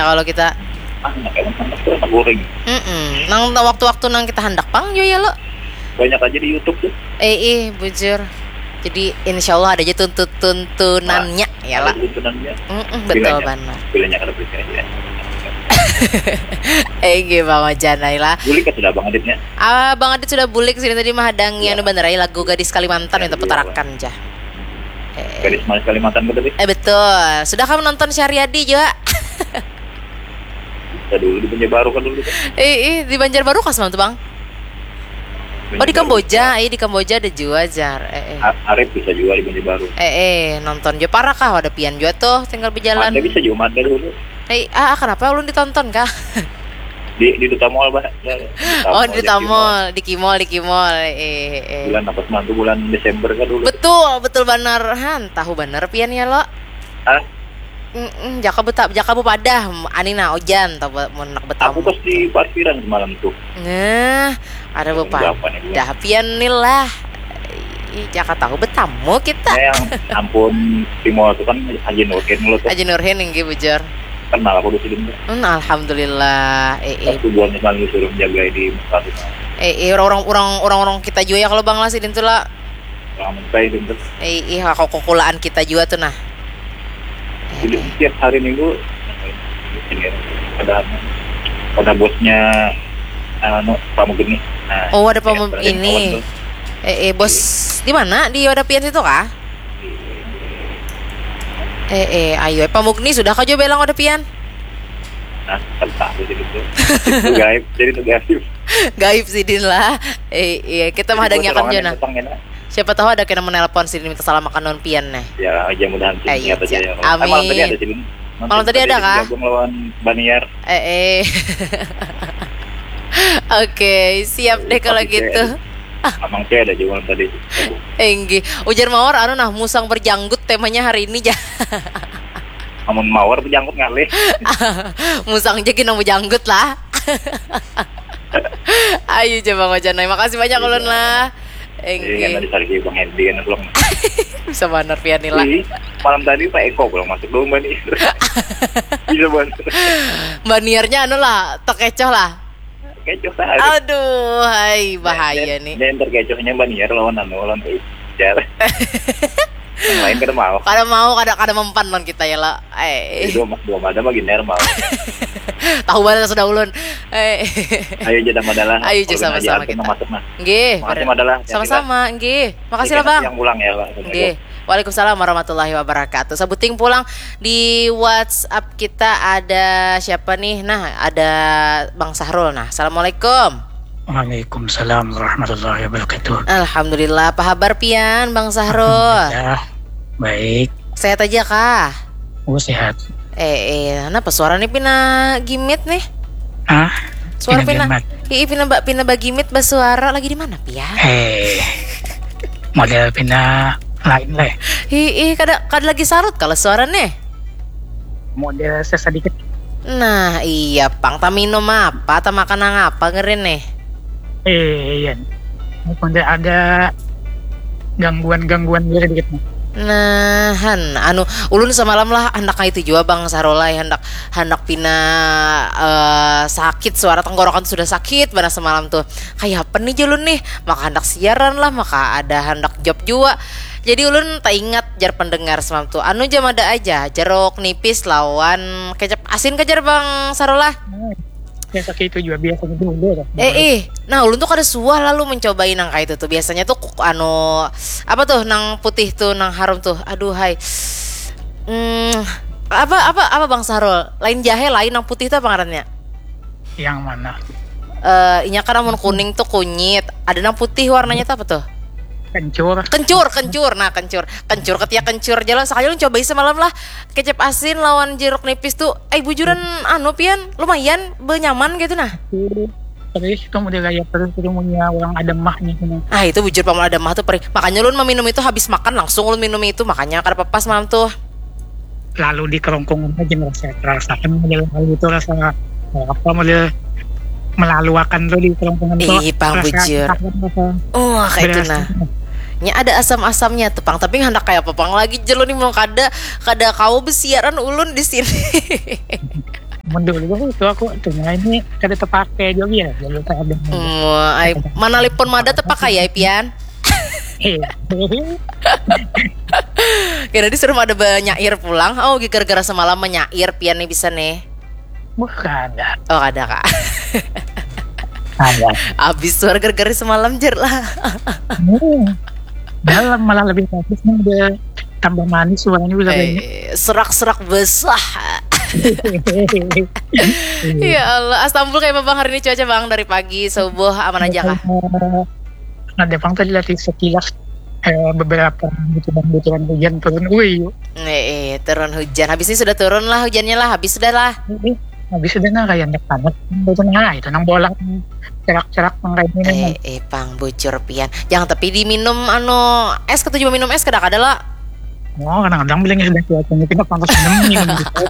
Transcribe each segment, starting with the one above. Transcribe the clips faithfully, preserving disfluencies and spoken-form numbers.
Kalau kita Ah, enak emang handak tuh, handak goreng. Mm-mm. Nang waktu-waktu nang kita handak pang jua ya lo. Banyak aja di YouTube tuh. Eh, eh, bujur. Jadi insya Allah ada aja tuntut-tuntunannya ya lah. Ada tuntunannya. Mm-mm, betul Bilanya. Banget. Bilanya kada percaya ya. Eh, gimana janai lah. Bulik kan sudah Abang Aditnya. Ah, Bang Adit sudah bulik sini tadi mahadang Iya. Anu bener ai lagu Gadis Kalimantan minta Iya. Putarakan ja. Eh, Gadis Manis Kalimantan betul sih. Eh betul. Sudah kamu nonton Syariadi juga? Kita dulu di Banjarbaru kan dulu kan. Eh, eh di Banjarbaru kah semalam tuh, Bang? Oh, di Banjarbaru. Kamboja, eh di Kamboja ada juga jar. Eh, eh. A- Arif bisa juga di Banjarbaru. Eh, eh nonton juga parah kah? Ada pian juga tuh tinggal berjalan. Ada bisa juga ada dulu. Eh, ah, ah, kenapa ulun ditonton kah? Di di Duta Mall, Bah. Oh, di Duta Mall, di Kimol, di Kimol. Eh, eh. Bulan apa semalam tuh, bulan Desember kan dulu. Betul, betul banar. Han, tahu banar pian ya lo. Hah? Mm-mm, jaka buta, jaka bupadah, ani nah ojan tahu ba- mun nak Aku betamu. Pas di parkiran semalam tuh. Nah, ada Jam bupadah delapan itu. Pian ni lah. Ih, jaka tahu betamu kita. Ya, yang ampun, di mall tuh kan Haji Nurdin lo tuh. Aji Nurhin inggih bujur. Kenal aku di sini tuh. Hmm, alhamdulillah. Eh, Pas eh. Tubuhan semalam disuruh menjaga di muka tuh. Eh, eh orang orang orang orang kita juga ya kalau Bang lah sidin tuh lah. Orang mentai itu tuh. Eh, ih, kok kukulaan kita juga tuh nah. Jadi tiap hari minggu ini ada ada bosnya anu Pamugeni. Nah, Oh, ada ya, Pamu- ada ini. kawan tuh. Eh, eh bos di mana? Di Oda Pian situ kah? Eh, eh, ayo, eh, Pamugni sudah kah juga bilang Oda Pian? Nah, tentang itu gitu. Itu gaib, jadi itu gaib. Gaib sidin lah. Eh, iya, kita mah ada Jadi, nyakan bocorangan juga yang nah. Datang, ya, nah. Siapa tahu ada kena menelpon sidin minta salam makan non Pian nah. Ya, aja mudahan sih Eh, iya, niat aja ya. amin. Eh, malam tadi ada sih. Malam tadi ada kah? Digabung lawan Baniar. Eh, eh. Oke, siap deh kalau Pasti gitu. Amang saya ada juga malam tadi. Enggih, ujar mawar anu nah musang berjanggut temanya hari ini ja. Amun mawar berjanggut ngalih. Musang ja gina berjanggut lah. Ayo coba Bang Ojan, makasih banyak ulun lah. Iya, Enggih. Tadi sargi Bang Hendy kan pulang. Bisa banar pian lah. Ih, malam tadi Pak Eko pulang masuk dulu Mbak nih. Bisa banget. Mbak Niarnya anu lah, terkecoh lah. Kecoh tadi. Aduh, hai bahaya nih. Dan terkecohnya Mbak Niar lawan anu lawan Ijar. Yang lain kada mau. Kada mau, kada kada mempan lawan kita ya lah. Eh, Dua dua mada mah giner mau. Tahu banget sudah ulun. Eh. Ayo jadi madalah. Ayo, jadi sama-sama kita. Masuk nah. Nggih. Makasih madalah. Sama-sama, nggih. Makasih lah Bang. Yang pulang ya lah. Nggih. Waalaikumsalam warahmatullahi wabarakatuh. Sabuting pulang di WhatsApp kita ada siapa nih? Nah, ada Bang Sahrul. Nah, assalamualaikum. Waalaikumsalam warahmatullahi wabarakatuh. Alhamdulillah, apa kabar pian Bang Sahrul? Ya, baik. Sehat aja kah? Oh, sehat. Eh, eh, kenapa suara nih pina gimit nih? Ah, Suara pina, pina gimat. Ih, pina ba, pina bagimit basuara lagi di mana pian? Eh, model pina lain lah. Ih, ih, kada kada lagi sarut kalau suara nih. Model sesedikit. Nah, iya pang, tak minum apa, tak makan nang apa ngerin nih. Eh, iya. Model ada gangguan-gangguan gitu dikit nih. Nah, han, anu, ulun semalam lah handak itu juga Bang Sarolai, handak handak pina eh, sakit, suara tenggorokan sudah sakit banget semalam tuh. Kayak apa nih julun nih? Maka handak siaran lah, maka ada handak job juga. Jadi ulun tak ingat jar pendengar semalam tuh. Anu jam ada aja jeruk nipis lawan kecap asin kejar Bang Sarola. Ya, sakit itu juga biasa gitu dulu lah. Eh ih, nah ulun tuh kada suah lalu mencobai nang kayak itu tuh. Biasanya tuh kuk- anu apa tuh nang putih tuh nang harum tuh. Aduh hai. Hmm, apa apa apa Bang Sarul? Lain jahe, lain nang putih tuh apa ngarannya? Yang mana? Eh, inya kan amun kuning tuh kunyit. Ada nang putih warnanya tuh apa tuh? Kencur. Kencur, kencur. Nah, kencur. Kencur ketiak kencur jalan. Sekali lu cobai semalam lah. Kecap asin lawan jeruk nipis tuh. Eh, bujuran anu pian, lumayan benyaman gitu nah. Terus itu model gaya terus itu punya orang ada mahnya gitu. Ah, itu bujur paman ada mah tuh perih. Makanya ulun meminum itu habis makan langsung ulun minum itu. Makanya kada apa-apa semalam tuh. Lalu di kerongkongan aja ngerasa rasakan model hal itu rasa apa model melaluakan tuh di kerongkongan tuh. Ih, pang Rasa bujur. Apa, apa. Oh, kayak itu Berasa. Nah. Nya ada asam-asamnya tuh pang, tapi hendak kayak apa pang lagi jelo nih mau kada kada kau besiaran ulun di sini. Mun dulu tu aku tu, nah, ini kada tapakai jua ya, dulu kada ada. Hmm, ai, manalipun mada tapakai ya, Pian? Kira disuruh mada banyair pulang. Oh, gara-gara semalam manyair, Pian nih bisa nih. Bukan ada. Oh, ada, Kak. Ada. Habis suara gara-gara semalam, jer lah. Hmm. Dalam malah lebih bagus nih, udah tambah manis suaranya, bisa kayak ini. Eh, serak-serak besar. Ya Allah, Astambul kayak apa, Bang, hari ini cuaca, Bang, dari pagi subuh aman aja kah? Eh, ada pang tadi latih sekilas, eh, beberapa butiran-butiran hujan turun. Wih, yuk. Eh, eh, turun hujan. Habis ini sudah turun lah hujannya lah, habis sudah lah. Ini habis sudah, nah, kayak anak panas. Itu, nah, itu nang bola cerak-cerak nang kayak ini, nah. Eh, eh, pang bujur, Pian. Jangan tapi diminum anu es, ketujuh minum es, kada kada lah. Oh, kadang-kadang bilangnya sudah cuacanya tidak panas, minum, minum gitu.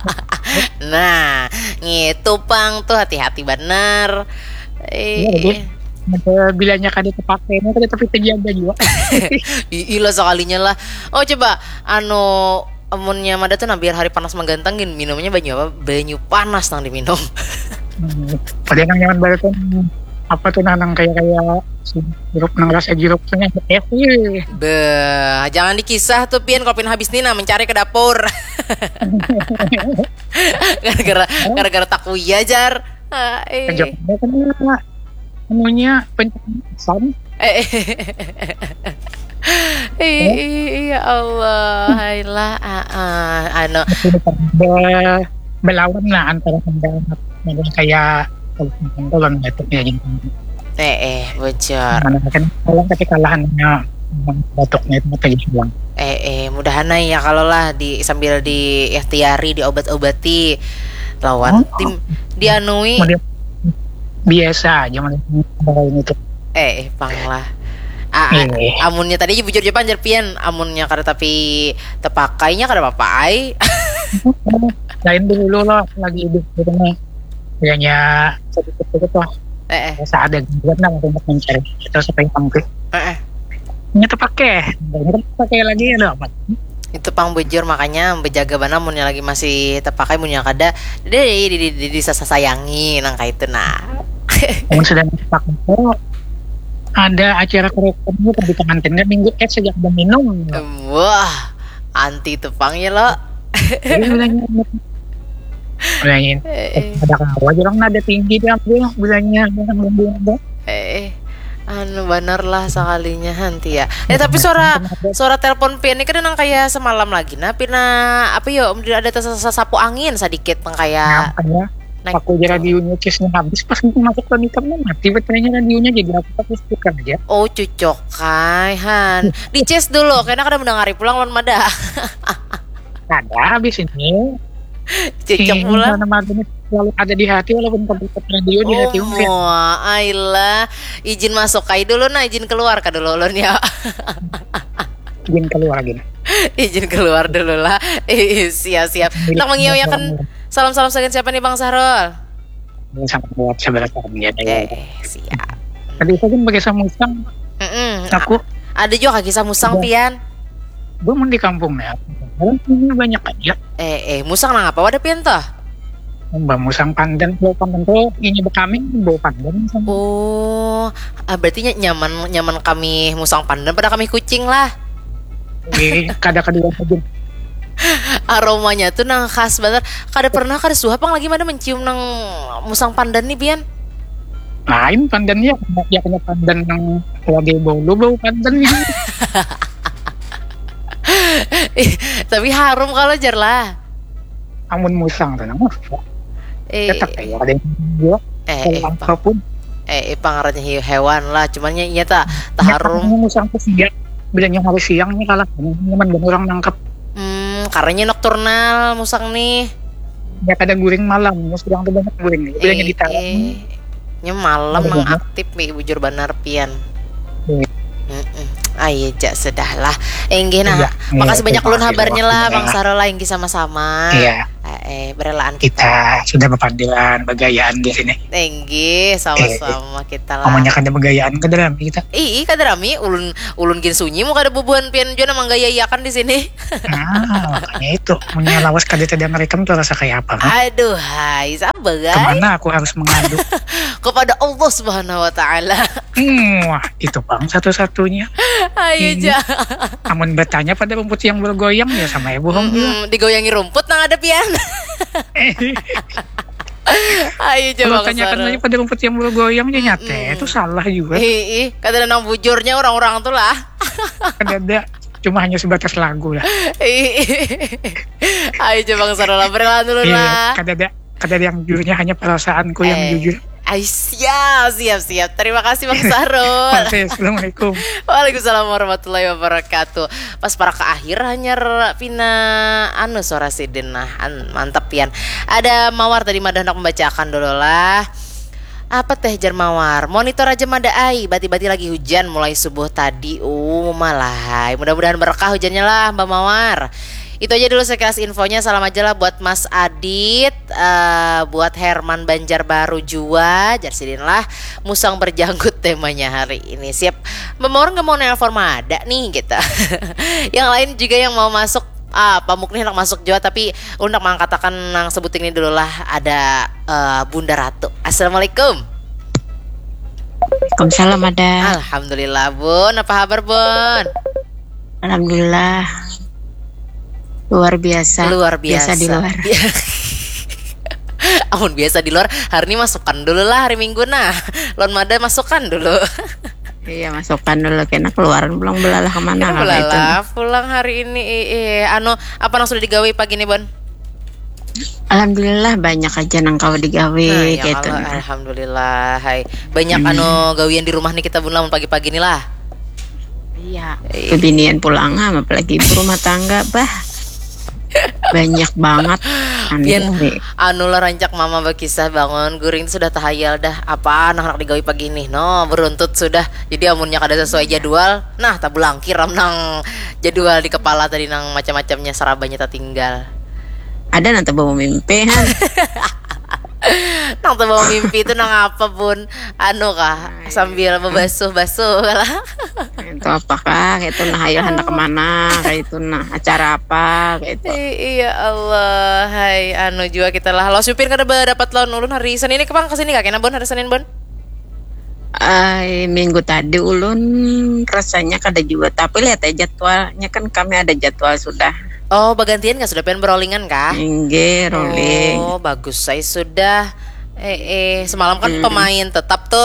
Nah, ngitu pang tuh, hati-hati banar. Iya, betul. Eh, Ada bilanya kada tapakai, ini kada tapi terjaga juga. I- ilah sekalinya lah. Oh, coba anu, amunnya mada tuh, nah, biar hari panas manggantang gin, minumnya banyu apa? Banyu panas nang diminum. Hmm. Pada nang nyaman banget tuh, apa tuh, nah, nang kayak, kayak jeruk, nang rasa jeruk tuh, nah, es, wih. Beuh, jangan dikisah tuh, Pian, kalau Pian habis nih, nah, mencari ke dapur. Gara-gara gara-gara takuya, jar. Ah, eh. Kerja apa kan, anunya, pencanasan. Eh, eh. Ih, ih, ya Allah, hailah, ah, ah, anu, Be- belawan lah antara pendapat, ada kayak kalau batuknya gitu. Eh, eh, bujur. Mana kan kalau tapi kalahannya, batuknya itu kayak hilang. Eh, eh, mudahan ya kalau lah di sambil diikhtiari, diobat-obati lawan Oh. Tim dianui. Kemudian biasa aja, mana ini tuh. Eh, eh, pang lah. Ah, ah, Eh. Amunnya tadi aja bujur, Jepang, jar Pian, amunnya kada tapi tepakainya kada apa-apa ai. Lain dulu loh, lagi hidup di rumah, hanya sedikit-sedikit lah, Eh, eh. Rasa ada gangguan lah untuk mencari itu supaya tampil. Eh, eh. Ini tuh pakai, ini tuh pakai lagi, ada apa? Itu pang bujur, makanya bejaga banar munnya lagi masih tepakai, munnya kada, deh, di, di, di, disasayangi nang kayak itu, nah. Namun sudah pakai itu, ada acara kerokan gitu di pengantinnya, minggu es sejak udah minum. Wah, anti itu pang ya lo. Jadi bilangnya, bilangin, Eh, eh. Ada kawa aja orang nada tinggi diambil bilangnya, orang ngambil. Eh, eh. Anu, banar lah sekalinya, hanti ya. Eh, tapi suara suara telepon Pian ini kada nang kayak semalam lagi. Nah, pina apa yo? Ada sasapu angin sedikit nang kayak Makanya naik. Aku aja radionya, casenya habis, pas masuk ke meter, mati baterainya radionya, jadi aku pakai speaker aja. Oh, cucok kai, han. Di-cas dulu, karena kada mendengari pulang lawan mada. Ada habis ini. Cucok Ini pulang. Nama ini selalu ada di hati, walaupun tempat radio di hati. Oh, mua, ailah. Izin masuk kai dulu, nah, izin keluar ka dulu ulun ya. Izin keluar gini. Izin keluar dulu lah. Ih, siap, siap. Nak mengiyakan salam-salam sagan siapa nih, Bang Sahrul? Ini sangat kuat sebenarnya. Eh, siap. Tadi saya kan pakai samusang, Mm-mm. aku Ada juga kisah musang, Iya. Pian. Gue mau di kampung ya. Orang punya banyak aja. Eh, eh, musang nang apa wadah Pian tuh? Mbak musang pandan, bau pandan tuh ini bekami, bau pandan sama. Oh, ah, berarti ny- nyaman nyaman kami musang pandan pada kami kucing lah. Di kada kedua aja. Aromanya tuh nang khas banget. Kada pernah, kada suha pang lagi mada mencium nang musang pandan nih, Pian. Lain pandannya, ya kena pandan yang lagi bolu, bau pandan ini. Ih, tapi harum kalau jar lah. Amun musang tuh, nah, Eh, tetap ya ada yang jual. eh, Kalau eh, apapun, eh, eh, pangarannya he- hewan lah, cuman nya iya ta, ta harum. Amun musang tuh siang, bilangnya hari siang nih kalah. Nyaman banget orang nangkep. Hmm, karena nokturnal musang nih. Ya kada guring malam, ya sedang tuh banyak guring. Bilangnya di talang. Eh, nya malam Ada nang banyak. Aktif, Pi, bujur banar Pian. Iya. Mm-mm. Ayo ja sudah lah. Inggih nah. Iya, Makasih iya, banyak ulun terima kasih habarnya lah, waktunya. Bang Sahrul lah, inggih sama-sama. Iya. Eh, berelaan kita. Kita sudah berpandilan, bergayaan di sini. Tinggi, sama-sama kita lah. Ngomongnya kada bergayaan, kada rami kita. Ih, kada rami, ulun ulun gin sunyi, mun kada bubuhan pian jua nang manggayaiakan di sini. Nah, makanya itu, punya lawas kada tadi ngerekam tuh rasa kayak apa, mah? Aduh, hai, sabar, guys. Kemana aku harus mengadu? Kepada Allah Subhanahu wa Ta'ala. Hmm, wah, itu bang satu-satunya. Ayo, Iya. ja. Amun bertanya pada rumput yang bergoyang, ya sama ya bohong juga. Mm-mm, digoyangi rumput nang ada pian. Ayo, coba Kalau tanyakan aja pada rumput yang bergoyang, ya nyata Mm-mm. itu salah juga. Ih, ih, kada ada nang bujurnya orang-orang tuh lah. Kada ada, cuma hanya sebatas lagu lah. Ih, ih. Ayo, coba Bang Sarul lah, berkenalan dulu Iya, lah. kada ada, kada ada yang jujurnya, hanya perasaanku yang Eh, jujur. Ay, siap, siap, siap. Terima kasih, Bang Sarul. Oke, assalamualaikum. Waalaikumsalam warahmatullahi wabarakatuh. Pas para ke akhir hanyar pina anu suara sidin, nah, an, mantap pian. Ada Mawar tadi mada hendak membacakan dulu lah. Apa teh, jar Mawar? Monitor aja mada ai, bati-bati lagi hujan mulai subuh tadi. Uh, malah hai. Mudah-mudahan berkah hujannya lah, Mbak Mawar. Itu aja dulu sekilas infonya. Salam aja lah buat Mas Adit, eh, buat Herman Banjarbaru jua, jar sidin lah. Musang berjanggut temanya hari ini. Siap. Mbak Mawar nggak mau nelpon mada nih gitu. Yang lain juga yang mau masuk, ah, pamuk nih hendak masuk jua, tapi ulun hendak mengangkatakan nang sebuting ini dulu lah. Ada, eh, Bunda Ratu. Assalamualaikum. Waalaikumsalam, ada. Alhamdulillah, Bun. Apa kabar, Bun? Alhamdulillah. Luar biasa. Luar biasa. Biasa di luar. Amun biasa di luar, hari ini masukkan dulu lah, hari Minggu nah. Lawan mada masukkan dulu. Iya, masukkan dulu, kena keluaran pulang belalah kemana Kita kalau itu. Belalah pulang hari ini. Eh, eh. Anu, apa nang sudah digawe pagi ini, Bun? Alhamdulillah, banyak aja nang kawa digawe Nah, ya gitu. Allah, alhamdulillah. Hai, banyak anu gawian di rumah nih kita, Bun, lah, mun pagi-pagi nih lah. Iya. Iya. Kebinian pulang, ah, apalagi ibu rumah tangga, bah. Banyak banget. Anu, Pian, gawe. Anu lah, rancak mama berkisah bangun, guring sudah tahayal dah. Apa nang hendak digawe pagi nih? No, beruntut sudah. Jadi amunnya kada sesuai jadwal, nah, tabulangkir am nang jadwal di kepala tadi, nang macam-macamnya sarabanya tatinggal. Ada nang terbawa mimpi, han. Nang terbawa mimpi itu nang apa, Bun? Anu kah? Sambil bebasuh-basuh lah. Itu apakah itu, nah, ayo hendak kemana, kayak itu, nah, acara apa, kayak itu. I- iya Allah, hai, anu jua kita lah. Lo supir kada berdapat lawan ulun hari Senin ini, kepang ke sini kah? Kena, Bun, hari Senin, Bun? Ai, minggu tadi ulun rasanya kada jua, tapi lihat aja jadwalnya, kan kami ada jadwal sudah. Oh, bagantian kah? Sudah pian berolingan kah? Inggih, rolling. Oh, bagus saya sudah. Eh, eh, semalam kan pemain tetap tuh.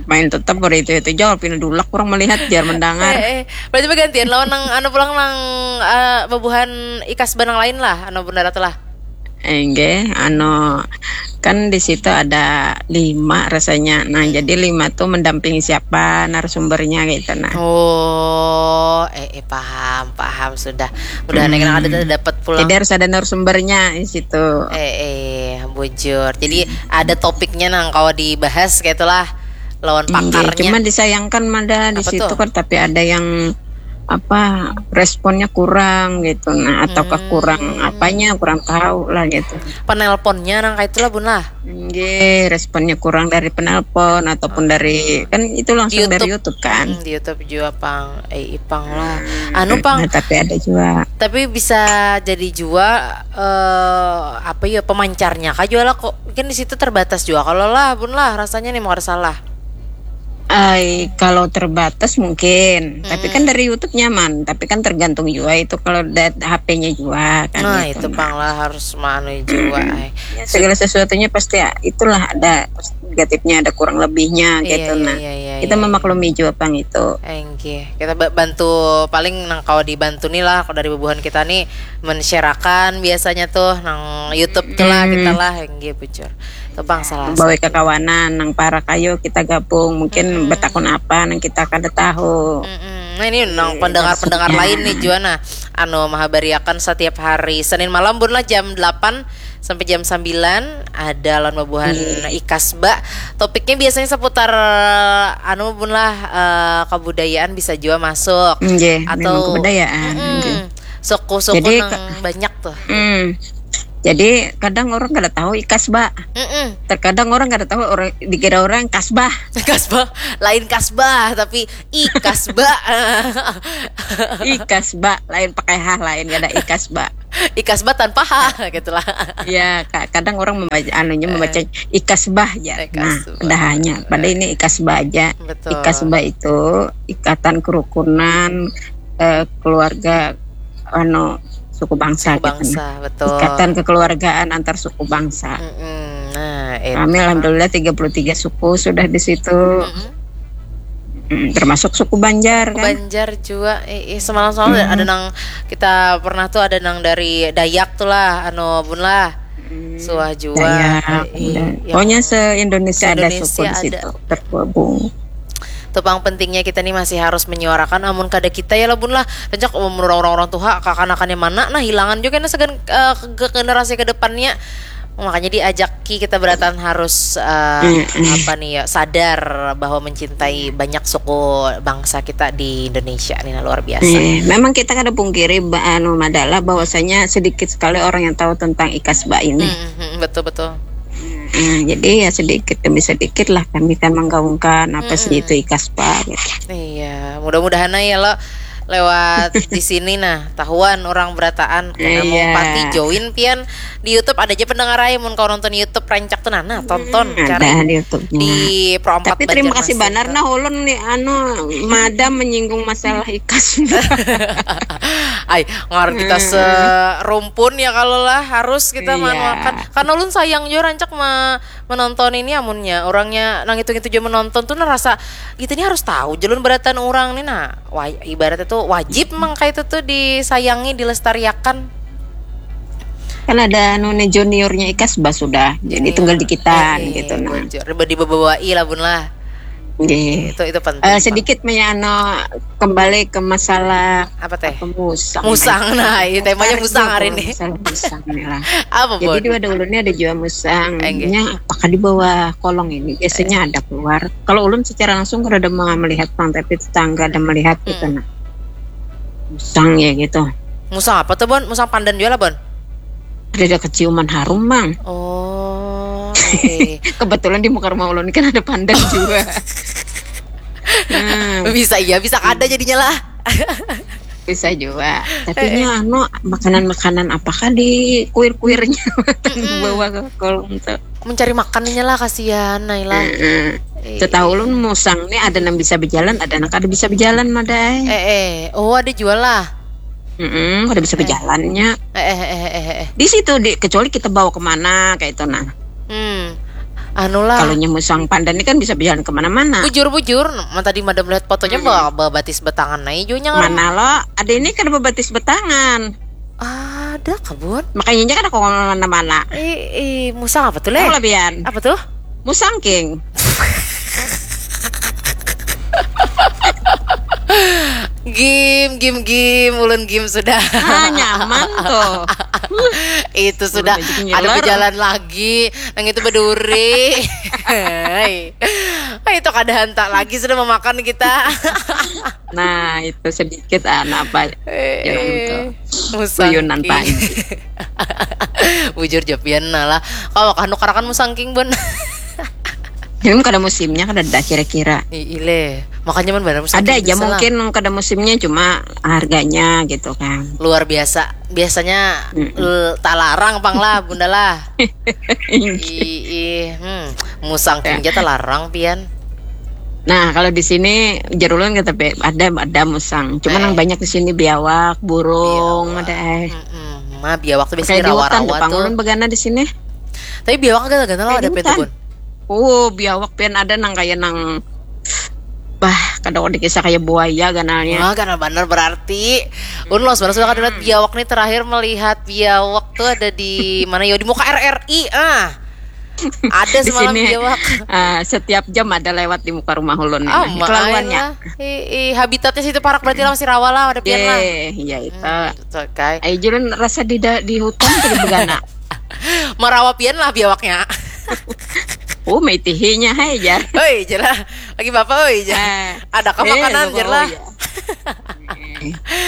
Main tetap baru itu itu jauh, pina dulak kurang melihat, jar mendangar. Eh, eh. Berarti bagantian lawan nang anu pulang, nang, eh, bubuhan ikas benang lain lah, anu Bunda Ratu lah. Enggak, anu, kan di situ ada lima rasanya. Nah, jadi lima tuh mendampingi siapa narasumbernya gitu, nah. Oh, eh, eh, paham, paham sudah. Udah, hmm. Ada dapat pulang. Jadi harus ada narasumbernya di situ. Eh, eh, bujur. Jadi hmm. Ada topiknya nang kawa dibahas kayak itulah, lawan pakarnya. Iya, cuma disayangkan mada di situ kan, tapi ada yang apa, responnya kurang gitu, nah, ataukah hmm. kurang apanya, kurang tahu lah gitu. Penelponnya nang kayak itulah, Bun lah. Nggih, responnya kurang dari penelpon ataupun oh. Dari, kan itu langsung YouTube. Dari YouTube kan. Hmm, di YouTube juga, pang. Eh, ipang lah. Hmm. Anu, pang. Nah, tapi ada juga. Tapi bisa jadi juga uh, apa ya, pemancarnya kah juga lah kok. Mungkin di situ terbatas juga kalau lah, Bun lah, rasanya nih mau ada salah. Ay, kalau terbatas mungkin, hmm. Tapi kan dari YouTube nyaman, tapi kan tergantung juga itu kalau H P-nya juga kan. Nah, gitu. Itu pang lah harus manu juga. Ay. Ya, segala sesuatunya pasti ya, itulah ada negatifnya, ada kurang lebihnya iya, gitu. Iya, nah, iya, iya, kita iya, memaklumi iya. Juga pang itu. Enggih, kita bantu paling nang kawa dibantu nih lah kalau dari bubuhan kita nih men-shareakan biasanya tuh nang YouTube tuh lah hmm. Kita lah enggih bujur. Tepang salah. Bawa kekawanan nang parak ayo kita gabung. Mungkin mm-mm. Betakun apa nang kita kada tahu. Mm-mm. Nah, ini nang pendengar-pendengar lain nih juga nah. Anu mahabariakan setiap hari Senin malam Bun lah jam delapan sampai jam sembilan ada lawan bubuhan mm. Ikasba. Topiknya biasanya seputar anu Bun lah uh, kebudayaan bisa juga masuk. Nggih, atau kebudayaan. Mm-mm. Nggih. Suku-suku Jadi, nang ka- banyak tuh. Hmm. Jadi kadang orang kada tahu ikasba. Mm-mm. Terkadang orang kada tahu orang dikira orang kasbah. Kasbah, lain kasbah tapi ikasba. Ikasba lain pakai ha lain kada ikasba. Ikasba tanpa ha gitulah. Ya, kadang orang membaca anunya membaca ikasbah ya. Nah, ikasbah. Ada hanya pada ini ikasba aja. Betul. Ikasba itu ikatan kerukunan eh, keluarga anu suku bangsa, suku bangsa gitu. Betul. Ikatan kekeluargaan antar suku bangsa. Mm-mm. Nah, itu. Kami alhamdulillah tiga puluh tiga suku sudah di situ. Mm-mm. Mm, termasuk suku Banjar kan. Banjar juga. Eh, eh, semalam-semalam mm-hmm. Ada nang kita pernah tuh ada nang dari Dayak tuh lah, anu bun lah. Mm, suah juga. Dayak, eh, eh, pokoknya se-Indonesia ada suku di situ tergabung. Tuh pang pentingnya kita nih masih harus menyuarakan amun kada kita ya lah bun lah. Rancak umur orang-orang tuha kakanakannya mana nah hilangan juga nah segan uh, ke generasi kedepannya. Makanya diajaki kita berataan harus uh, mm-hmm. Apa nih ya sadar bahwa mencintai banyak suku bangsa kita di Indonesia nih nah, luar biasa. Eh, memang kita kada pungkiri anu madalah bahwasanya sedikit sekali orang yang tahu tentang ikasba ini. Mm-hmm, betul betul. Nah, jadi ya sedikit demi sedikit lah kami kan menggaungkan apa sih itu ikasba gitu. Iya, mudah-mudahan ya lo lewat di sini nah tahuan orang berataan karena mau pati join pian di YouTube ada aja pendengar aja mun kau nonton YouTube rancak tuh nah, nah tonton hmm, cari di YouTube di Pro empat. Tapi terima kasih banar nah ulun nih anu madam menyinggung masalah ikas. Ay, ngar kita hmm. Serumpun ya kalau lah harus kita iya. Manuakan karena ulun sayang juga rancak ma menonton ini amunnya orangnya nang itu itu juga menonton tuh nah rasa kita ini harus tahu jalur beratan orang nih nah wa- ibaratnya tuh wajib memang kayak itu tuh disayangi dilestariakan. Kan ada nune juniornya ikasba sudah jadi tunggal dikitan eh, gitu nah bocor. Dibawai lah bun lah. Nggih. Itu itu penting. Uh, sedikit menyano kembali ke masalah apa teh? Musang. Musang nah, iya temanya musang hari ini. Musang nih lah. Apa jadi dua ada ulunnya ada juga musang. Nya apakah di bawah kolong ini biasanya ada keluar. Kalau ulun secara langsung kada ada melihat pang tapi tetangga ada melihat gitu nah. Musang ya gitu. Musang apa tuh Bon? Musang pandan juga lah Bon. Ada ada keciuman harum mang. Oh. Kebetulan di muka rumah ulun kan ada pandan juga. Hmm. Bisa iya bisa kada jadinya lah. Bisa juga tapi nya anu makanan-makanan apakah di kuir-kuirnya bawa ke kolong tuh mencari makannya lah kasihan Naila. Setahu ulun musang nih ada yang bisa berjalan ada yang kada bisa berjalan madai. Eh eh oh ada jual lah. Mm-mm, kada bisa berjalannya. Eh, eh, eh, eh, eh. Di situ di kecuali kita bawa kemana kayak itu nah. Hmm. Anu lah. Kalau nyemusang pandan ini kan bisa berjalan kemana-mana. Bujur-bujur, nah, tadi madam lihat fotonya hmm. Bawa, bawa batis betangan nah ijunya. Mana lo? Ada ini kan bawa batis betangan. Ada kabun. Makanya kan aku ngomong mana-mana. Eh, eh, musang apa tuh leh? Apa tuh? Musang king. Gim, gim, gim, ulun gim sudah. Ah, nyaman tuh. Itu sudah ada berjalan lagi, yang itu berduri. Hai. Hai, itu kada hantak lagi sudah memakan kita. Nah, itu sedikit ah, apa? Eh, musang. Bujur jopian nah lah. Kalau kanu karakan musang king bun. Ini kada musimnya kada ada kira-kira. Ile, makanya man benar musim ada aja mungkin kada musimnya cuma harganya gitu kan. Luar biasa, biasanya mm -mm. Talarang pang lah bunda lah. Ih, hmm. Musang ya. Talarang pian. Nah kalau di sini jerulun kita ada ada musang, cuma eh. Yang banyak di sini biawak, burung, biawak. Ada eh. Mm -mm. Mah biawak tuh biasanya rawa-rawa tuh. Ulun begana di sini. Tapi biawak gana-gana lah ada pintu bun. Oh, biawak pian ada nang kaya nang bah kada dikisah kaya buaya ganalnya. Wah, ganal banar berarti. Un los banar sudah kada lihat biawak nih terakhir melihat biawak tuh ada di mana yo di muka R R I ah. Ada semalam biawak. Uh, setiap jam ada lewat di muka rumah ulun. Oh, kelaluannya. Ih, habitatnya situ parak berarti lah masih rawa lah ada pian lah. Iya itu. Hmm, okay. Ayo julun rasa di di hutan tuh begana. Marawa pian lah biawaknya. Oh, maitihinya hai jar. Oi, jelah. Lagi bapak oi jar. Eh, ada ke eh, makanan jar lah. Ya.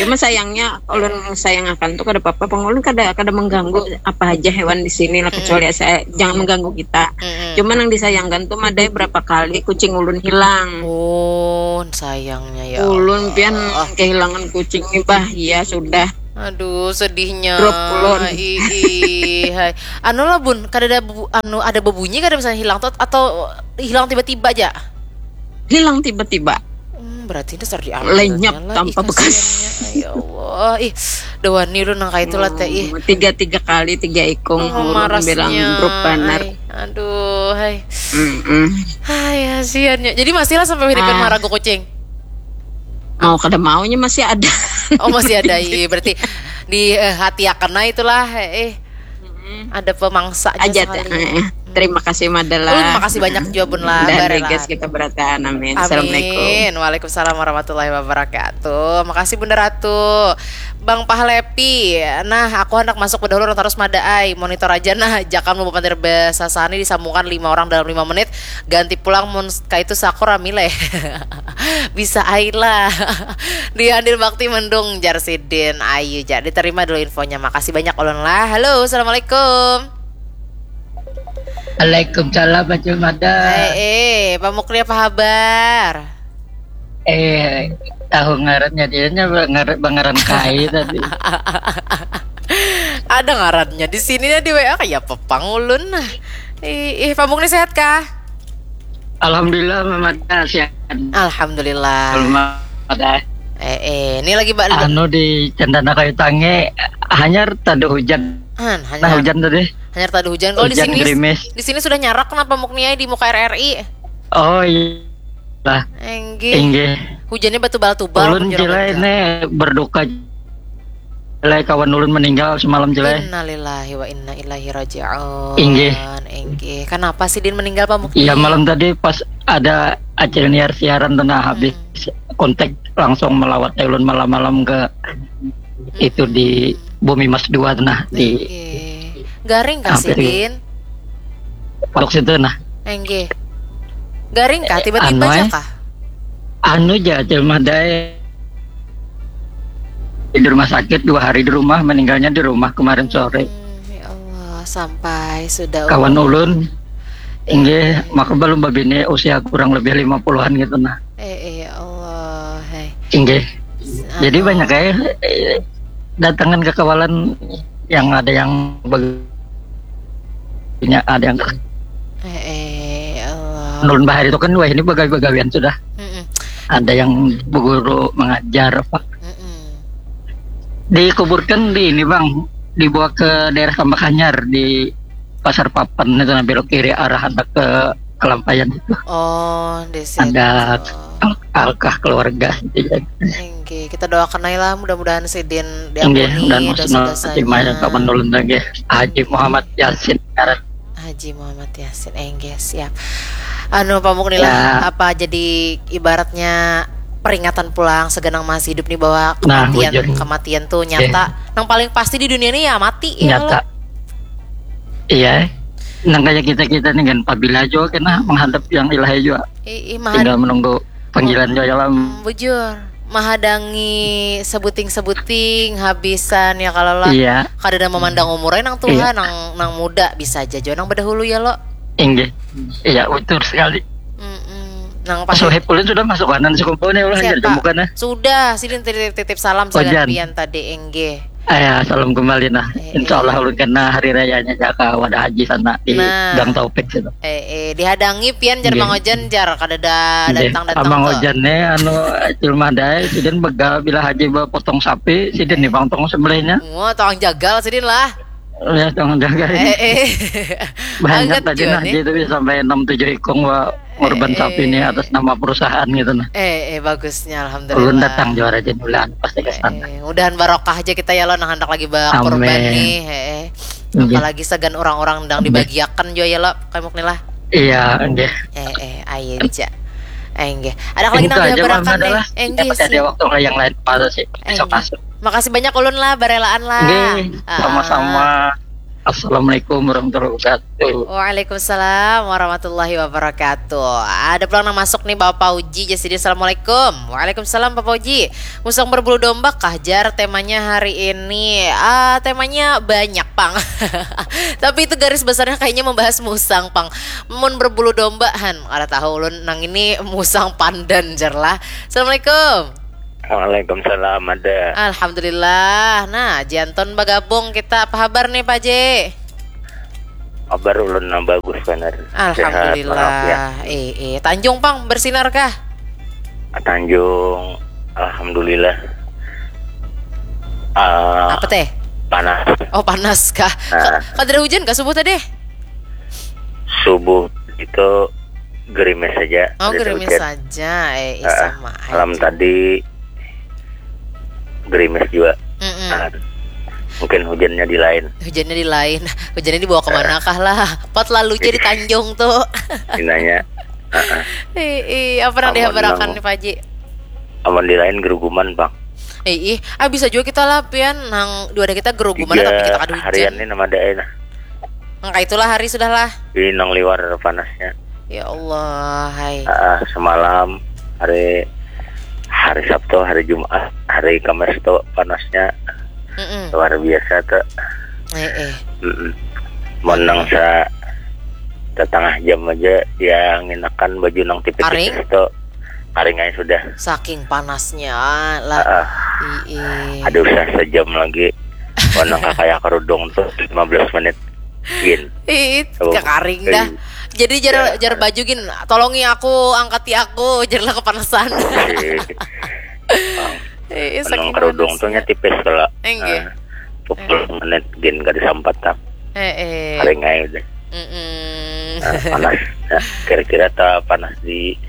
Cuma sayangnya ulun sayang akan tuh kada apa-apa, pang ulun kada kada mengganggu apa aja hewan di sini lah, kecuali saya jangan mengganggu kita. Cuma yang disayangkan tuh madai berapa kali kucing ulun hilang. Oh, sayangnya ya. Ulun pian kehilangan kucing nih, bah, iya sudah. Aduh, sedihnya. Drop ulun. Ih, ih, hai. Anu lah, Bun, kada ada bu- anu ada bebunyi kada misalnya hilang tuh, atau hilang tiba-tiba aja? Hilang tiba-tiba. Hmm, berarti dasar di Lenyap tanpa bekas. Ya Allah. Ih, dawani lu nang kayak itulah teh, ih. Tiga tiga kali tiga ikung Oh, ulun bilang marasnya. Drop banar. Ai, aduh, hai. Mm-mm. Hai, kasihannya. Jadi masihlah sampai hiripan Ah. maragu kucing. Mau kada maunya masih ada. Oh, masih ada, iya, berarti di eh, hati akan, nah, itulah, eh. Ada pemangsa Aja teh. sekali. Eh, terima kasih Mada lah. Ulun makasih banyak juga, Bun lah, Dan Barela. Regas kita berataan. Amin. Assalamualaikum. Amin. Waalaikumsalam warahmatullahi wabarakatuh. Makasih, Bunda Ratu. Bang Pahlepi, nah, aku hendak masuk bedahulu, terus Mada ai, monitor aja nah, jangan lupa pandir besasani disambungkan lima orang dalam lima menit, ganti pulang mun kaitu sakur rami leh. Bisa ai lah. Di Andir Bakti mendung, jar sidin. Ayu ja, diterima dulu infonya. Makasih banyak ulun lah. Halo, assalamualaikum. Waalaikumsalam, Acil Mada. Eh, eh, Pak Mukri, apa habar? Eh, tahu ngarannya dia nya ngaran bangaran kai tadi. Ada ngarannya di sini ya, di W A kayak pepang ulun. Ih, ih, Pak Mukri sehat kah? Alhamdulillah, Mada sehat. Alhamdulillah. Belum ada. Eh, eh, ini lagi Mbak Lu- Anu di Cendana Kayu Tange hanyar tadi hujan. Han, Nah, hanyar, hujan tadi. hanyar tadi hujan. Kalau di Hujan sini, gerimis. Di sini sudah nyarak kenapa, Mukni ai, di muka R R I? Oh iya. Lah, Enggih. Inggih. Hujannya batu bal Ulun pun jurang Cila hujan. Ini berduka Cila, kawan ulun meninggal semalam Cila. Innalillahi wa inna ilaihi raji'un. Inggih. Inggih. Kenapa sih Din meninggal, Pak Mukni? Iya, malam tadi pas ada Acil Niar siaran tuh, nah, habis kontak langsung melawat ulun malam-malam ke itu di Bumi Mas dua tuh, nah, di Inggih. Garing kah Apa itu? Sidin? Pondok situ, nah. Enggih. Garing kah tiba-tiba Anu, aja eh. Kah? Anu ja, Acil Madai di rumah sakit, dua hari di rumah, meninggalnya di rumah kemarin sore. Hmm, ya Allah, sampai sudah Kawan umur. Ulun, inggih, maka belum babini, usia kurang lebih lima puluhan gitu, nah. Eh, eh, ya Allah, hai. Inggih. Jadi Anu. Banyak ya, eh, datangan ke kawalan yang ada yang bag- punya, ada yang Eh, eh, ya Allah. Ulun bahari itu kan, wah, ini bagawi-bagawian sudah. Mm-mm, Ada yang berguru mengajar apa. mm-mm. Dikuburkan di ini, Bang, dibawa ke daerah Tambak Hanyar di Pasar Papan itu, nah, belok kiri arah hendak ke Kalampayan itu. Oh, di situ. Ada al- alkah keluarga gitu ya. Inggih, kita doakan aja lah, mudah-mudahan sidin Inggih, diampuni dan maksudnya dosa-dosanya. Timaya kapan ulun lagi, Haji Muhammad Yasin ngaran. Haji Muhammad Yasin, enggih, siap. Anu, Pak Mukni lah, Ya. Apa jadi ibaratnya peringatan pulang segenang masih hidup nih bahwa Nah, kematian bujur. Kematian tuh nyata. Nang paling pasti di dunia ini ya mati ya Nyata. kalau Iya. Nang kayak kita-kita nih kan, pabila juga kena menghadap yang ilahi juga. Ih, ih, maha- Tinggal menunggu panggilan juga lah. Hmm, bujur. Mahadangi sebuting-sebuting habisan ya kalau lah. Iya. Kada ada memandang umurnya nang tua, Iya. nang nang muda bisa aja jo nang bedahulu ya lo. Inggih. Iya, betul sekali. Mm-mm. Nang pasti Sohib ulun sudah masuk kanan sekumpul nih, ulah Siapa? jadi bukan, nah. Sudah, sidin titip, titip salam Ojan. Pian tadi, enggih. Ah, ya, salam kembali, nah. Eh, Insya Allah eh. Ulun kena hari rayanya jaka wadah haji sana di Nah. Gang Taufik situ. Eh, eh, dihadangi Pian jar Nggih. Mang Ojan jar kada ada Nggih. datang-datang Amang tuh. Ojan nih, anu, Acil Madai, sidin begal bila haji bapotong sapi, sidin nih bang tong sembelihnya. Wah, tolong jagal sidin lah. Ya, tolong jaga ini. Eh, eh. Banyak Anget tadi, juga nah, nih. Jadi sampai enam tujuh ikung wa ngurban Eh, sapi nih eh. Atas nama perusahaan gitu, nah. Eh, eh, bagusnya, alhamdulillah. Ulun datang juara jenulan pasti ke sana. Eh, eh, mudahan barokah aja kita ya lo, nang hendak lagi bakurban Amin. Nih, eh, eh. Nggih. Apalagi segan orang-orang dang dibagiakan juga ya lo, kayak Mukni lah. Iya, nggih. Eh, eh, ayo aja. Eh, enggak. Ada lagi Itu nang aja, dihabarakan Mama, nih. adalah Eh, enggak dapat ada sih. waktu yang lain, Pak, sih. Eh, Besok enggak. masuk. Makasih banyak ulun lah, barelaan lah. Nggih, Ah, sama-sama. ah. Assalamualaikum warahmatullahi wabarakatuh. Waalaikumsalam warahmatullahi wabarakatuh. Ada pulang nang masuk nih, Bapak Uji. Jadi, assalamualaikum. Waalaikumsalam, Bapak Uji. Musang berbulu domba kah, jar, temanya hari ini? Ah, temanya banyak pang. Tapi itu garis besarnya kayaknya membahas musang pang. Mun berbulu domba, han, kada tahu ulun, nang ini musang pandan, jar lah. Assalamualaikum. Waalaikumsalam, ada. Alhamdulillah. Nah, Janton bagabung kita. Apa habar nih, Pak Ji? Kabar ulun nang bagus banar. Alhamdulillah. Eh, eh. Tanjung pang bersinar kah? Tanjung, alhamdulillah. Ah, Apa teh? Panas. Oh, panas kah? Ah. Ka- Kada ada hujan kah subuh tadi? Subuh itu gerimis saja. Oh, Ada gerimis hujan. Saja. Eh, eh, Ah, sama Malam aja. Tadi gerimis juga. Mm-mm. Ah, mungkin hujannya di lain. Hujannya di lain. Hujannya dibawa kemana kah lah? Pot lalu jadi Tanjung tuh. Inanya. Ah, ah. Eh, eh, apa nang Amun dihabarakan nang- nih, Pak Ji? Amun di lain geruguman, Bang. Eh, ih, ah, bisa juga kita lah, pian, nang dua ada kita geruguman, tapi kita kada hujan. Harian ini nama ada, eh, nah. Angka itulah hari sudah lah. Ini nang liwar panasnya. Ya Allah, hai. Ah, semalam hari hari Sabtu, hari Jumat, hari Kamis tuh panasnya Mm-mm. luar biasa tuh. Eh, eh. Mm-mm. Menang sa setengah jam aja dia nginakan baju nang tipis-tipis Karing? Tuh karing aja sudah. Saking panasnya lah. Ah, Ih, ada usah sejam lagi. Menang kakaya kerudung tuh lima belas menit. Gin. Ih, Oh, kekaring eh, dah. Jadi jar ya. Jar baju gin, tolongi aku, angkati aku, jar lah kepanasan. Eh, Eh, Menang saking kerudung tuh panasnya. Tipis kalau. Enggak. Ah, sepuluh menit gin kada sampat tak. Eh, eh. Karing aja udah. Mm-mm. Nah, panas. Nah, kira-kira tak panas di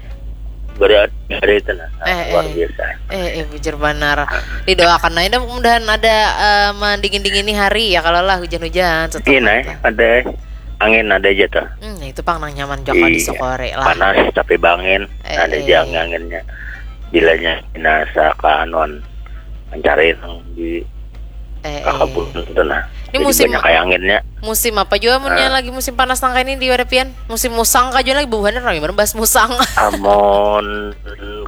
berat hari itu nah. Nah, Eh, luar eh. Biasa. Eh, eh, bujur banar. Didoakan aja dah, mudah-mudahan ada eh, mendingin-dingini hari ya, kalau lah hujan-hujan. Iya, nah, ada angin ada aja tuh. Hmm, nah, itu pang nang nyaman juga di Iya. Sokore lah. Panas tapi bangin. Eh, Ada eh. aja angin-anginnya. Bilanya nasa kaanuan mencari nang di Eh, eh. kakabun itu nah. Ini Jadi musim- banyak kayak anginnya. Musim apa juga munnya Ah. Lagi musim panas nang kayak ini di wadah pian? Musim musang kah juga lagi, buhannya rame banget bahas musang. Amun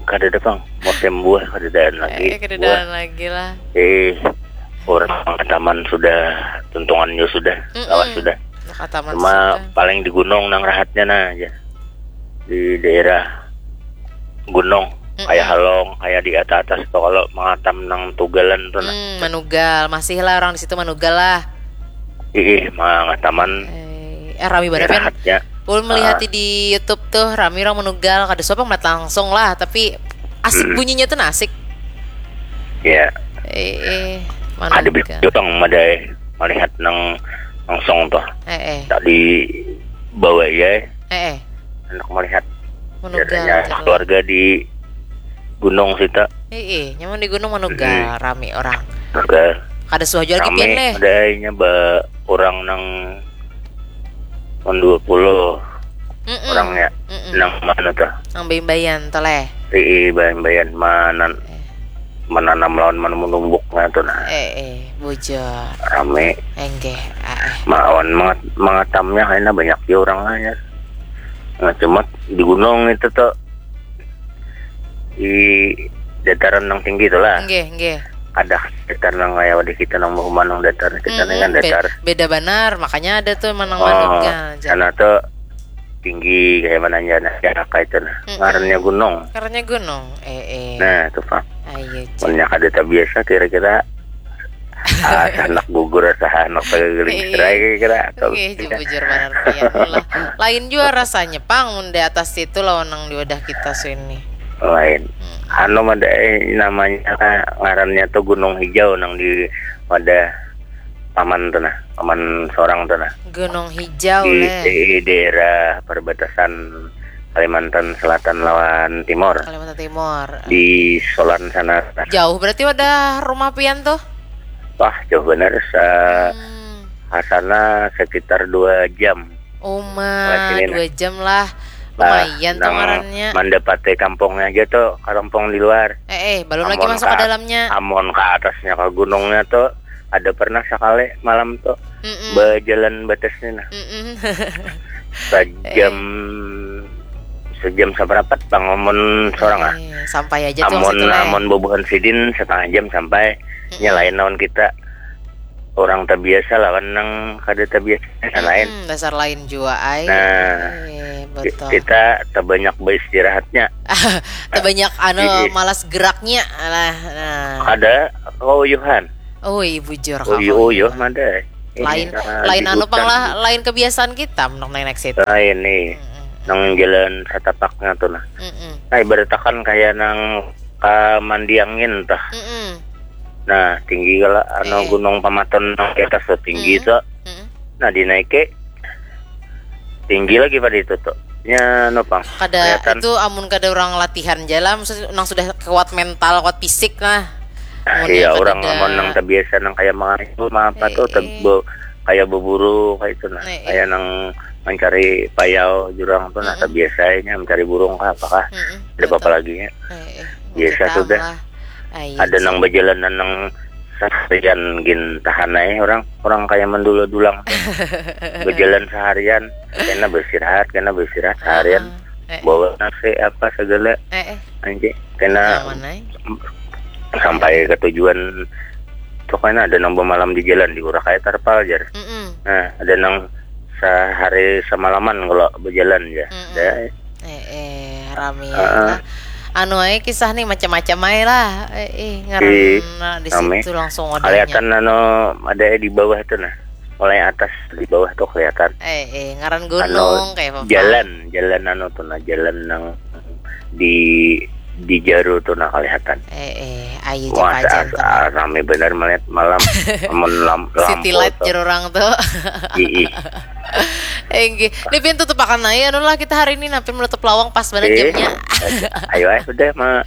kada ada pang musim buah kadadaan lagi. Eh, kededalan lagi lah. Eh, orang taman sudah, tuntungannya sudah, Mm-mm. lawas sudah. Nah, kataman Cuma sudah. Paling di gunung nang rahatnya nah aja. Di daerah gunung, Mm-mm. Kayak Halong, kayak di atas-atas tuh kalau mengatam nang tugalan tuh nah. Hmm, manugal, masih lah orang di situ manugal lah. Ih, mangataman Eh, eh, rame banget kan. Rahatnya. Ulun melihat Ah. di YouTube tuh rame orang manugal, kada suapa melihat langsung lah, tapi asik Mm-mm. Bunyinya tuh nah asik. Ya, Eh, eh, ada manugal. Jutong madai melihat nang langsung tuh. Eh, eh, Tadi bawa ya, eh, eh. Anak melihat Manugal, biasanya terus. Keluarga di gunung sita. Eh, eh, nyaman di gunung manugal, rame orang. Manugal. Kada suah jual lagi pian Rame leh. Madainya ba orang nang tahun dua puluh Mm-mm. Orangnya Mm-mm. Nang mana tuh? Nang baimbayan tuh leh. Ii bayan-bayan manan Eh, menanam lawan mana menumbuknya tuh nah. eh, eh, bujur. Rame. Enggeh, ah, eh. Mawan mangat mangatamnya kayaknya banyak ya orangnya. Nah, cuma di gunung itu tuh di dataran yang tinggi tuh lah. Enggeh, enggeh. Ada datar nang kayak di kita nang mau nang datar kita Mm-mm, nih kan be- datar. Beda banar, makanya ada tuh menang Oh, manuknya aja. Sana tuh tinggi kayak mana aja nah jarak kayak itu nah. Mm-mm. Ngarannya gunung. Karena gunung, eh, eh. Nah, tuh Pak. Ayo, cek. Punya kada tak biasa kira-kira ah, anak gugur asa anak pagageling Iya. serai kira-kira atau Oke, jujur banar pian lah. Lain juga rasanya pang mun di atas situ lawan nang di wadah kita sini. lain. Hmm. Anu ada eh, namanya ngarannya tuh Gunung Hijau nang di wadah paman tuh nah, paman seorang tuh nah. Gunung Hijau Di, leh. Di daerah perbatasan Kalimantan Selatan lawan Timur. Kalimantan Timur. Di Solan sana. Jauh berarti wadah rumah pian tuh? Wah, jauh benar. Sa Hmm. Asana sekitar dua jam. Uma, Lewat sini, nah. Dua jam lah. Nah, Lumayan tuh nang ngarannya. Mendapati kampungnya aja tuh, kampung di luar. Eh, eh, belum lagi Amun masuk ke ka- dalamnya. Amun ke atasnya ke gunungnya tuh, ada pernah sakali malam tu Mm-mm. bajalan batas ni nah. Mm-mm. Sajam sajam sabarapat pang amun sorang ah. Eh, sampai aja tuh Amun situ lah. Amun bubuhan sidin setengah jam sampai. Nya lain lawan kita. Orang tabiasa lawan nang kada tabiasa nah lain. Mm-mm, dasar lain jua ai. Nah, Eh, Ki- betul. Kita tabanyak beristirahatnya. Tabanyak anu Iya. malas geraknya lah. Nah. Ada keuyuhan. Ui, bujur Uyuh uyuh mada. Ini, Lain ah, lain di anu pang hutan. Lah, lain kebiasaan kita menurut naik situ. Lain nih. Mm-mm. Nang jalan satapaknya tuh nah. Mm-mm. Nah, ibarat akan kayak nang kamandiangin tah. Mm-mm. Nah, tinggi kala anu Eh. Gunung Pamaton nang di atas tuh tinggi Mm. tuh. Mm-mm. Nah, dinaiki tinggi lagi pada itu tuh. Nya anu pang. Kada Kelihatan. Itu amun kada orang latihan jalan maksud nang sudah kuat mental, kuat fisik lah. Amun Iya, yang orang kadada. Amun nang terbiasa nang kayak mengayu mah apa Eh, tuh eh. tebo kayak berburu kayak itu nah. Eh, eh. Kayak nang mencari payau jurang tuh nah Mm-mm. biasanya mencari burung kah apakah Mm-mm. Ada apa-apa Betul. Lagi ya. Eh, eh. Biasa Kita sudah. Lah. Ayo, Ada nang Cik. Berjalanan nang seharian gin tahan aja orang orang kayak mendula-dulang tuh. Berjalan seharian kena beristirahat kena beristirahat seharian Ah, eh, bawa nasi apa segala eh, eh. Anjing kena Aman aja. Sampai ke tujuan tuh kan ada nang bermalam di jalan di urak kayak terpal jar. Mm-mm. Nah, ada nang sehari semalaman kalau berjalan ya. Mm-mm. Dah. Eh, eh, rame Heeh. lah. Anu aja kisah nih macam-macam aja lah. Eh, eh, ngaran Ih, nah, di rame. Situ langsung wadahnya. Kelihatan anu ada di bawah tuh nah. Mulai atas di bawah tuh kelihatan. Eh, eh, ngaran Anu gunung kayak apa? Jalan, jalan anu tuh nah, jalan nang di di Jaru tuh nah kelihatan. Eh, eh, ayo Wah, japa aja sa- ah, rame benar melihat malam. Amun lam, City lampu light tuh. Jar orang tuh. Ih, ih. Enggih. Ini pintu tepakan aja anu lah kita hari ini nampin menutup lawang pas banget Eh, jamnya. Ayo ayo sudah ma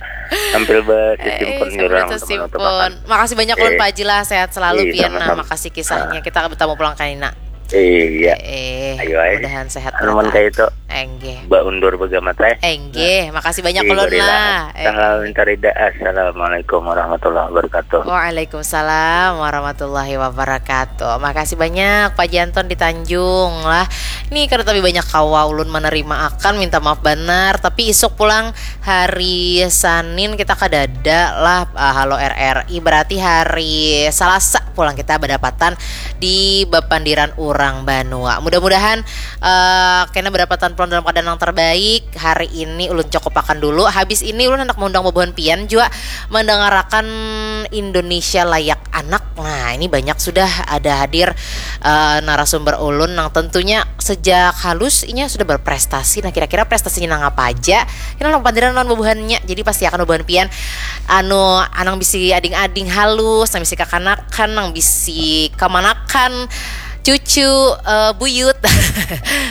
tampil Eh, bersimpun sama jurang itu teman-teman. Simpon. Makasih banyak Eh. Lun Pak Haji lah, sehat selalu Eh, Pian nah. sama-sama. Makasih kisahnya. Kita bertemu pulang kanina. Iya. Eh, Ayo, ayo. Mudahan sehat Anuman mereka. Kayak itu. Enggih. Mbak undur bagamat eh. Enggih, makasih banyak Iya, Lun gorila. lah. Eh. Salam minta rida. Assalamualaikum warahmatullahi wabarakatuh. Waalaikumsalam warahmatullahi wabarakatuh. Makasih banyak Pak Janton di Tanjung lah. Nih kada tapi banyak kawa ulun menerima akan minta maaf benar. Tapi isuk pulang hari Senin kita kadada lah uh, halo R R I berarti hari Selasa pulang kita berdapatan di bapandiran urang banua. Mudah-mudahan uh, kena berdapatan pulang dalam keadaan yang terbaik. Hari ini ulun cukupakan dulu. Habis ini ulun hendak mengundang bubuhan pian juga mendengarakan Indonesia Layak Anak. Nah, ini banyak sudah ada hadir uh, narasumber ulun yang tentunya sejak halus inya sudah berprestasi. Nah, kira-kira prestasinya nang apa aja? Ini nang pandiran lawan bubuhannya. Jadi pasti akan bubuhan pian anu anang bisi ading-ading halus, nang bisi kakanakan, nang bisi kamanakan cucu uh, buyut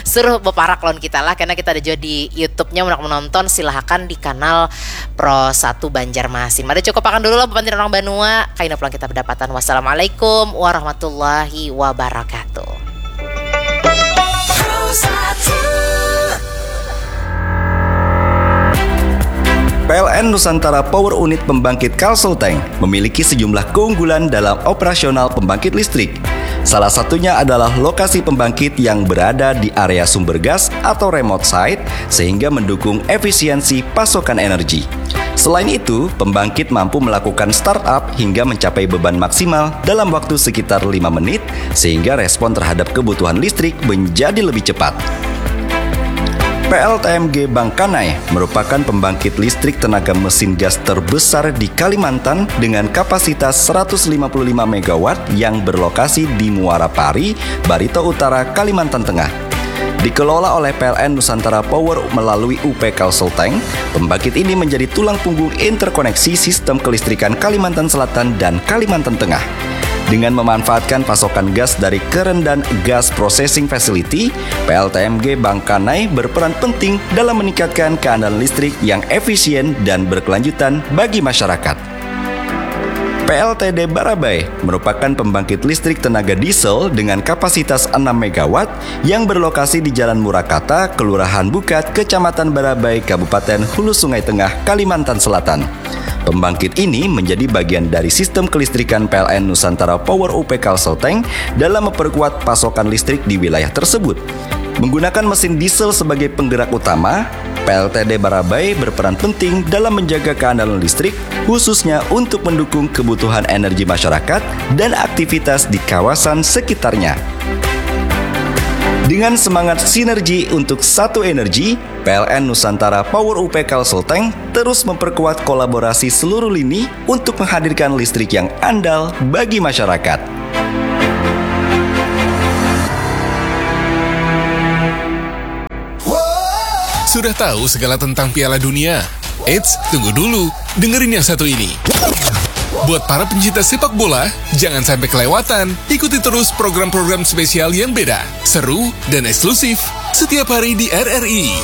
suruh beparak lawan kita lah karena kita ada juga di YouTube-nya mau menonton silahkan di kanal Pro satu Banjarmasin. Mari cukup akan dulu lah bukan orang banua. Kaina pulang kita berdapatan. Wassalamualaikum warahmatullahi wabarakatuh. P L N Nusantara Power Unit Pembangkit Kalsel Tank memiliki sejumlah keunggulan dalam operasional pembangkit listrik. Salah satunya adalah lokasi pembangkit yang berada di area sumber gas atau remote site sehingga mendukung efisiensi pasokan energi. Selain itu, pembangkit mampu melakukan startup hingga mencapai beban maksimal dalam waktu sekitar lima menit sehingga respon terhadap kebutuhan listrik menjadi lebih cepat. P L T M G Bangkanai merupakan pembangkit listrik tenaga mesin gas terbesar di Kalimantan dengan kapasitas seratus lima puluh lima megawatt yang berlokasi di Muara Pari, Barito Utara, Kalimantan Tengah. Dikelola oleh P L N Nusantara Power melalui U P Kalsel Tank, pembangkit ini menjadi tulang punggung interkoneksi sistem kelistrikan Kalimantan Selatan dan Kalimantan Tengah. Dengan memanfaatkan pasokan gas dari Kerendan Gas Processing Facility, P L T M G Bangkanai berperan penting dalam meningkatkan keandalan listrik yang efisien dan berkelanjutan bagi masyarakat. P L T D Barabai merupakan pembangkit listrik tenaga diesel dengan kapasitas enam megawatt yang berlokasi di Jalan Murakata, Kelurahan Bukat, Kecamatan Barabai, Kabupaten Hulu Sungai Tengah, Kalimantan Selatan. Pembangkit ini menjadi bagian dari sistem kelistrikan P L N Nusantara Power U P Kalsel Tank dalam memperkuat pasokan listrik di wilayah tersebut. Menggunakan mesin diesel sebagai penggerak utama, P L T D Barabai berperan penting dalam menjaga keandalan listrik, khususnya untuk mendukung kebutuhan energi masyarakat dan aktivitas di kawasan sekitarnya. Dengan semangat sinergi untuk satu energi, P L N Nusantara Power U P Kalsel Tank terus memperkuat kolaborasi seluruh lini untuk menghadirkan listrik yang andal bagi masyarakat. Sudah tahu segala tentang Piala Dunia? Eits, tunggu dulu. Dengerin yang satu ini. Buat para pencinta sepak bola, jangan sampai kelewatan. Ikuti terus program-program spesial yang beda, seru, dan eksklusif setiap hari di R R I.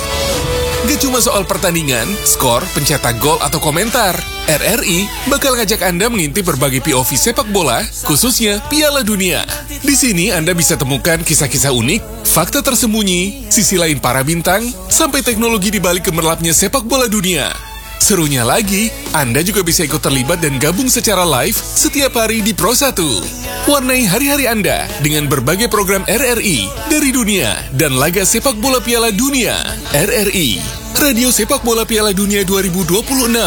Gak cuma soal pertandingan, skor, pencetak gol, atau komentar, R R I bakal ngajak Anda mengintip berbagai P O V sepak bola, khususnya Piala Dunia. Di sini Anda bisa temukan kisah-kisah unik, fakta tersembunyi, sisi lain para bintang, sampai teknologi di balik gemerlapnya sepak bola dunia. Serunya lagi, Anda juga bisa ikut terlibat dan gabung secara live setiap hari di Pro satu. Warnai hari-hari Anda dengan berbagai program R R I dari dunia dan laga sepak bola Piala Dunia. R R I, Radio Sepak Bola Piala Dunia dua ribu dua puluh enam.